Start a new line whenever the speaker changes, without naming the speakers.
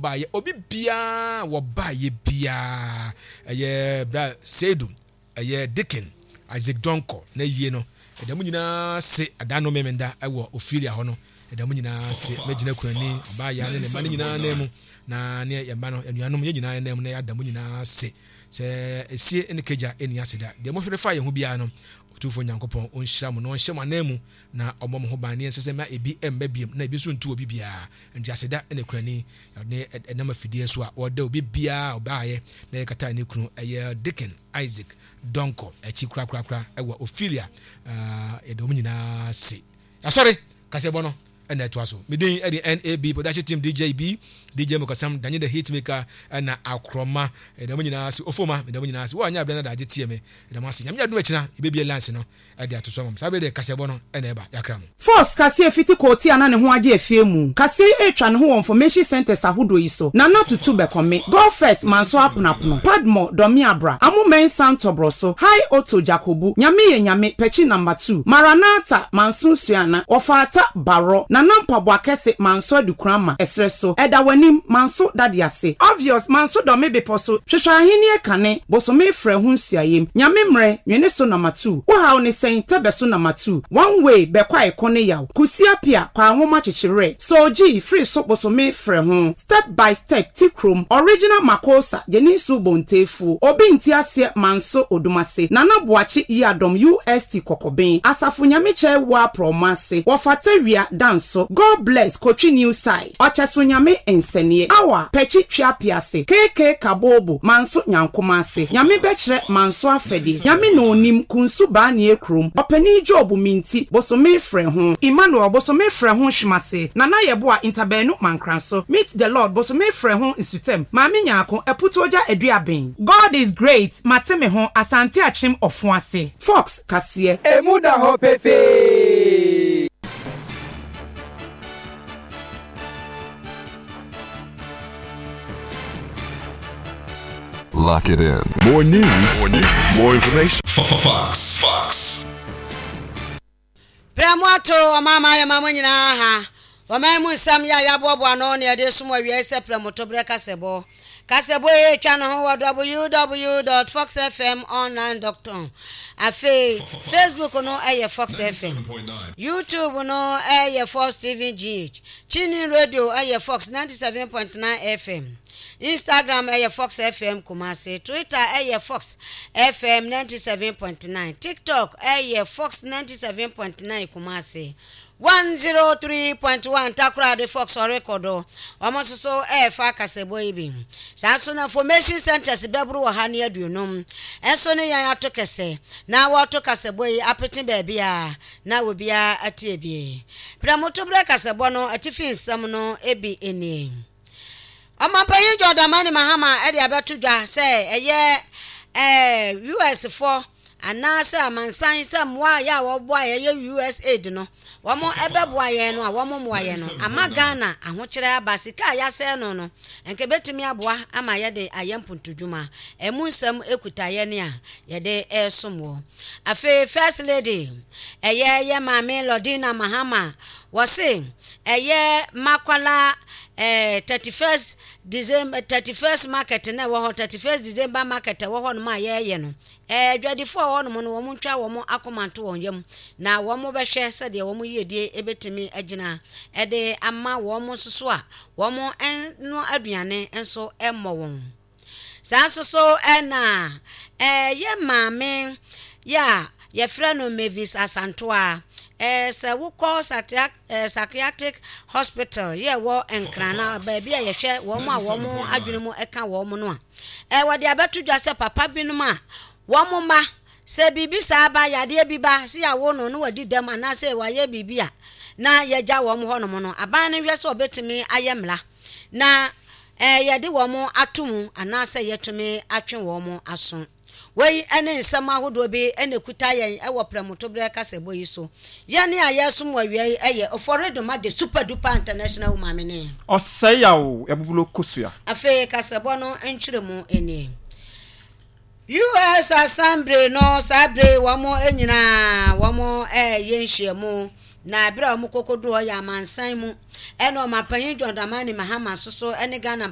Baeɛ, obi biara wɔbaeɛ biara, ɛyɛ bra Seidu, ɛyɛ Dikin, Isaac Donkor, na yie no, ɛda mu nyinaa se ada no memenda ɛwɔ Ophelia hɔ no, ɛda mu nyinaa se mɛgyina kurani, ɔbaa yaa ne ne mma no nyinaa nan mu, na ne yɛn mma no, anuanom, yɛn nyinaa nan mu na yɛada mu nyinaa se sɛ esie ne kagya ɛni ase da. Deɛ mohwere fa yɛn ho biara no, Otumfoɔ Nyankopɔn ɔnhyira mo na ɔnhyɛ mo anan mu na ɔmmɔ mo ho ban ne ɛnsɛ sɛ mma ebi mma biom na ebi nso ntu obi biara. Nti aseda na kurani ne ɛnam afidie so a ɔda obi biara a ɔbaeɛ na yɛkata ne kunu ɛyɛ Deacon Isaac Donkor akyi korakorakora ɛwɔ Ophelia yɛda wɔn nyinaa se yɛasɔre kaseɛbɔ no ɛna ɛtoa so. Me din ɛde NAB Production Team DJ B DJ Mokasam Danyi the Hitmaker ɛna Akorɔma yɛda wɔn nyinaa se Ofoma meda wɔn nyinaa se wo a nyɛ abrɛ na daagye tie me yɛda mo ase. Nyame adom akyina yɛbɛbie lines no de ato so ama mo. Saa bere deɛ kaseɛbɔ no na ɛba, yɛakra mo.
Force kaseɛ fiti koote a na ne ho agye afie mu. Kaseɛ yi retwa ne ho wɔ information centres ahodoɔ yi so, Nana Tutu Bɛkɔme, Go First Manso Aponapono, Padmore Dɔmeabra, Amo Mensah Ntɔbrɔso, High Otto Jakobu, Nyame Yɛ Nyame Pɛkyi Number Two, Maranatha Manso Suana, Wɔfaata Barɔ, Nana Mpaboa Kɛse Manso Adukurama, Ɛserɛ So, Ɛda W'anim Manso Dade Ase, Obvious Manso Dɔme Bepɔ So, Hwehwɛ Ahennie Kane, Bosome Frɛ Ho Nsuayem, Nyame Mmerɛ, Nwene So Number Two, Wo haw ne sɛn, Tɛbɛ so Number Two, One Way, Bɛkɔ a Ɛko ne Yaw, Kusi Apia, Kwaa Nwoma Kyekye Werɛ, Soul G, Firi So Bosome Frɛ Ho, Step by Step, Ti Krom, Original Makosa, Gyeni Nsu Bontefuo, Obi Nte Aseɛ Manso Odumase, Nana Boakye Yiadom UST Kɔkɔben, Asafo Nyame Kyɛe Woa Prɔmo Ase, Wɔfata Wia, Danso, God Bless, Kotwi New Side. Ɔkyɛso Nyame nsɛneɛ. Awa pɛkyi twea piase. KK Kabobo manso Nyankoma ase. Nyame bɛkyerɛ manso afɛdeɛ. Nyame na onim, Kunsu Baanie kurom. Ɔpanin Job Minti, bosome frɛ ho. Emmanuel, bosome frɛ ho Hwemase. Nana Yeboah, Ntabaanu Mankranso. Meet the Lord, bosome frɛ ho Nsutam. Maame Nyarko, Aputuogya Aduaben. God is great, mate me ho, Asante Akyem Ɔfoase. Fox kaseɛ.
Emu da hɔ pefee.
Lock it in. More news, more news, more information. Fox. Fox.
Berɛ mo ato ɔman ma ayɛ ma mo nyinaa ha. Ɔman mu nsɛm yɛ a yɛaboaboa ano na yɛde resom awiei sɛ prɛmoto berɛ kasɛbɔ. Kasɛbɔ yi retwa ne ho wɔ www.foxfmonline.com. Afei, Facebook no yɛ Fox FM. YouTube no yɛ Fox TV GH. TuneIn Radio yɛ Fox 97.9 FM. Instagram yɛ Fox FM Kumasi. Twitter yɛ Fox FM 97.9. TikTok yɛ Fox 97.9 Kumasi. 103.1 Takoradi Fox ɔrekɔ do. Wɔn nso so ɛrefa kasɛbɔ yi bi. Saa nso na Information Centers bɛboro 150 nso ne yɛn ato kɛsɛ na wɔreto kasɛbɔ yi apete baabi a na obiara atie bi. Prɛmotoberɛ kasɛbɔ no atifi nsɛm no bi nie. Ɔmanpanyin John Dramani Mahama de abɛto dwa sɛ ɛyɛ ɛɛ US foɔ anaasɛ amansan sɛ mmoa a yɛ a wɔboa yɛ yɛ US aid no wɔn ɛbɛboa yɛn no a wɔn mmoa yɛn no ama Ghana ahokyerɛ aba sika a yɛasɛe no no nka ebetumi aboa ama yɛde ayɛ mpuntudwuma ɛmu nsɛm ekuta yɛn a yɛde ɛresom wɔ afei First Lady ɛyɛ yɛ maame Lordina Mahama wɔse ɛyɛ Makwala eh, 31st December, 31st market na ɛwɔ hɔ, 31st December market ɛwɔ hɔ nom a yɛreyɛ no, eh, adwadifoɔ a ɛwɔ hɔ nom no, wɔn ntwa wɔn akoma nto wɔn yam, na wɔn bɛhwɛ sɛdeɛ wɔn yiedie ɛbɛtumi agyina ɛde ama wɔn nso so a wɔn no aduane nso mmɔ wɔn. Saa nso so na yɛ maame yɛ a yɛfrɛ no Mavis Asantoa. Sɛ wokɔ Psychiatric Hospital yɛ ɛwɔ Nkran na baabi a yɛhwɛ wɔn a wɔn adwene mu ka wɔn no a, wɔde abɛto dwa sɛ papa binom a wɔn mma sɛ biribi saa ba, yadeɛ bi ba, sɛ yɛawo no na wadi dɛm anaasɛ wayɛ biribi a na yɛgya wɔn hɔnom no, aban no hwɛ sɛ ɔbɛtumi ayɛ mmara na yɛde wɔn ato mu anaasɛ yɛatumi atwe wɔn aso. Wei ne nsɛm ahodoɔ bi na ɛkuta yɛn wɔ prɛmotoberɛ kasɛbɔ yi so. Yɛn a yɛresom wɔ awia yi yɛ Oforidoma the Super Duper International Woman ne.
Ɔsɛe yaw abubulo kosua.
Afei kasɛbɔ no nkyerɛmu nie. US Assembly no saa bere yi wɔn nyinaa wɔn reyɛ nhyiamu. Na ɛberɛ a wɔkɔkɔduu hɔ yɛ amansan mu ɛna Ɔmanpanyin John Dramani Mahama nso so ne Ghana.